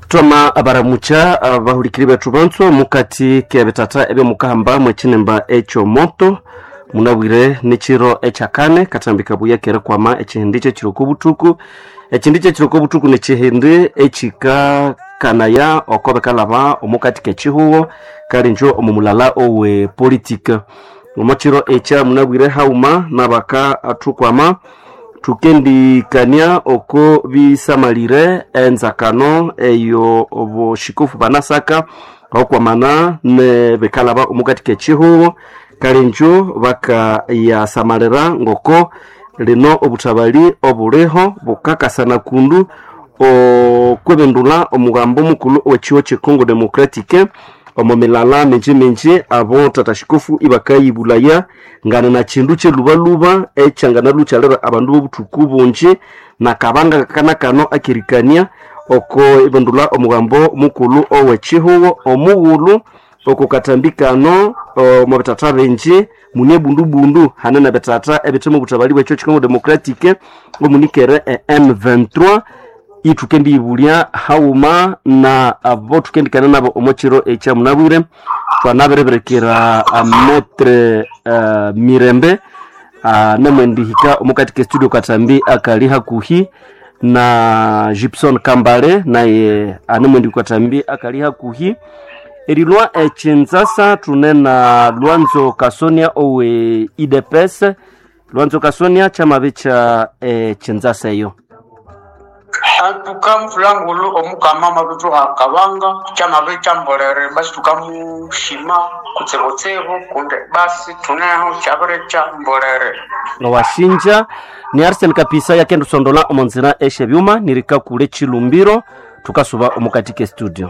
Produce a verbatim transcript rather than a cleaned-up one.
Twama abaramucha abahulikiri bethu banso mukati kebitata ebyomukahamba mwekinimba ekyomoto munabwire nekiro ekyakane katambika buya kerikwama ekihindi kyekiro kobuthuku. Ekihindi kyekiro kobuthuku nekihindi ekikakanaya oko bikalhaba omukati kekihugo kalinjo omu mulala owe politika. Omwakiro ekya munabwire haghuma nabaka athukwama thukendikania oko bisamalire enzakano eyo obushikofu banasaka okwamana nebikalhaba omukati kekihugo kalinjo bakayasamalira ngoko lino obuthabali obuliho bukakasana kundu okwibindulha omugambo mukulhu owekihugho kye Congo Democratic omo milala mingi mingi abo tata shikofu ibakayibulaya ngana na kindu kyelubaluba ekyanganalukyalira abandu b'obuthuku bungi nakabanga kana kano akerikania oko ibindulha omugambo mukulhu owekihugho omughulhu oko katambi kano omo bithatha bingi mune ebundubundu hane nebithatha ebithe mobuthabali bwekyo Congo Democratic omunikere e M twenty-three ithukendiyibulya haghuma na abo thukendikana nabo omo kiro ekyamunabwire thwanabiribirekera metre uh, Mirembe uh, namwendihika omukati ke studio katambi akali hakuhi na Gibson Kambale naye anemwendi katambi akali hakuhi erilwa ekinzasa thune na Lwanzo Kasonia owe I D P S. Lwanzo Kasonia kyamabikya ekinzasa eyo antuka mfulangulu omukama mabithuha kabanga kyamabikya mbolere basi tukamushima kutsibutsibu kundi basi thuneho kyabirikya mbolere washinja ni Arsene Kapisa yakendusondola omonzira eshebyuma nirikakule chilumbiro tukasuba omukati ke studio.